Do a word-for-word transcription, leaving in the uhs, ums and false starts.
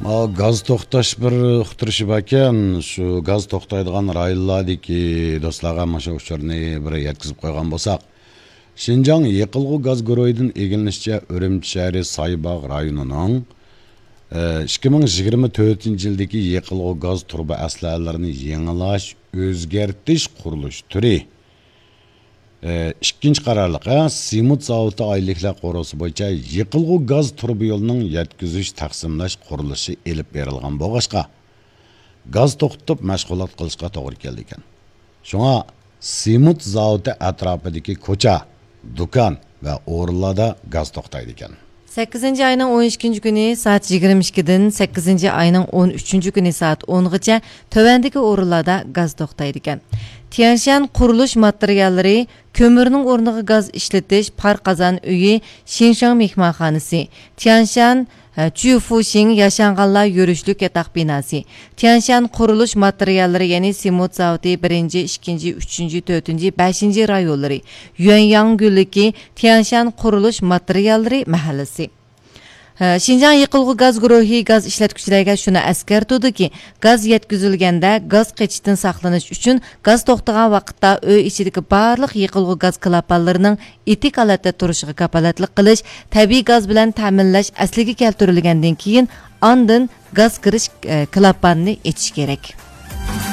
ئا، گاز توختاش بىر ئۇقتۇرۇشى باركەن، شۇ گاز توختايدىغان رايونلاردىكى دوستلارغا مانا شۇ ئۇچۇرنى بىر يەتكۈزۈپ قويغان بولساق. شىنجاڭ يېقىلغۇ گاز گۇرۇھىدىن ئىگىلىنىشىچە، ئۈرۈمچى شەھىرى سايباغ رايونىنىڭ، ئە، ئىككى مىڭ يىگىرمە تۆتىنچى يىلدىكى يېقىلغۇ گاز تۇرۇبا ئەسلىھەلىرىنى يېڭىلاش، ئۆزگەرتىش قۇرۇلۇش تۈرى، ئە، ئىككىنچى قارارلىق، ئە، سېمونت زاۋۇتى ئائىلىلىكلەر قورۇسى بويىچە يېقىلغۇ گاز تۇرۇبا يولىنىڭ يەتكۈزۈش، تەقسىملەش قۇرۇلۇشى ئېلىپ بېرىلغان بولغاچقا، گاز توختىتىپ مەشغۇلات قىلىشقا توغرا كېلىدىكەن. شۇڭا سېمونت زاۋۇتى ئەتراپىدىكى كوچا، دۇكان ۋە ئورۇنلاردا گاز توختايدىكەن. سەككىزىنچى ئاينىڭ ئون ئىككىنچى كۈنى سائەت يىگىرمە ئىككىدىن سەككىزىنچى ئاينىڭ ئون ئۈچىنچى كۈنى سائەت ئونغىچە تۆۋەندىكى ئورۇنلاردا گاز توختايدىكەن. تيەنشان قۇرۇلۇش ماتېرىياللىرى، كۆمۈرنىڭ ئورنىغا گاز ئىشلىتىش، پار قازان ئۆيى، شىنشاڭ مېھمانخانىسى، تيەنشان، ھە، چۈفۇشىڭ ياشانغانلار يۈرۈشلۈك ياتاق بىناسى، تيەنشان قۇرۇلۇش ماتېرىياللىرى، يەنى سېمونت زاۋۇتى بىرىنچى، ئىككىنچى، ئۈچىنچى، تۆتىنچى، بەشىنچى رايونلىرى، يۈەنياڭ گۈللۈكى، تيەنشان قۇرۇلۇش ماتېرىياللىرى مەھەللىسى. ھە، شىنجاڭ يېقىلغۇ گاز گۇرۇھى گاز ئىشلەتكۈچىلەرگە شۇنى ئەسكەرتىدۇكى، گاز يەتكۈزۈلگەندە گاز قېچىشتىن ساقلىنىش ئۈچۈن گاز توختىغان ۋاقىتتا ئۆي ئىچىدىكى بارلىق يېقىلغۇ گاز كىلاپانلىرىنىڭ ئېتىك ھالەتتە تۇرۇشىغا كاپالەتلىك قىلىش، تەبىئىي گاز بىلەن تەمىنلەش ئەسلىگە كەلتۈرۈلگەندىن كېيىن، ئاندىن گاز كىرىش، ئە، كىلاپاننى ئېچىش كېرەك.